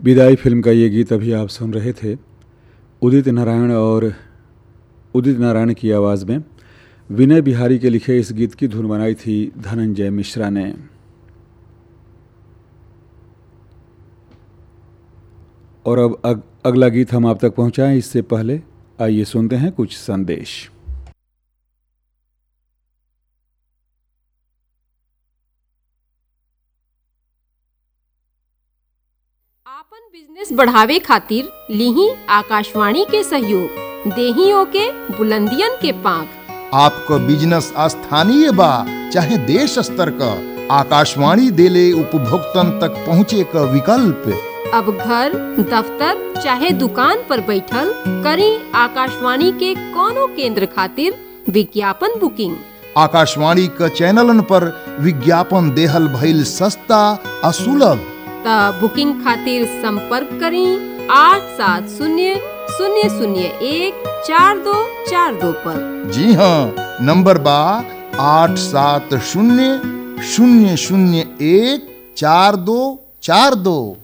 विदाई फिल्म का ये गीत अभी आप सुन रहे थे उदित नारायण और उदित नारायण की आवाज़ में। विनय बिहारी के लिखे इस गीत की धुन बनाई थी धनंजय मिश्रा ने। और अब अगला गीत हम आप तक पहुंचाएं इससे पहले आइए सुनते हैं कुछ संदेश। आपन बिजनेस बढ़ावे खातिर लिही आकाशवाणी के सहयोग, देहियों के बुलंदियन के पांख। आपको बिजनेस स्थानीय बा चाहे देश स्तर का, आकाशवाणी देले उपभोक्तन तक पहुँचे का विकल्प। अब घर, दफ्तर चाहे दुकान पर बैठल करी आकाशवाणी के कोनो केंद्र खातिर विज्ञापन बुकिंग। आकाशवाणी का चैनलन पर विज्ञापन देहल भइल सस्ता आ सुलभ। त बुकिंग खातिर संपर्क करी 870 001 4242 पर। जी हाँ, नंबर बा 870 001 4242।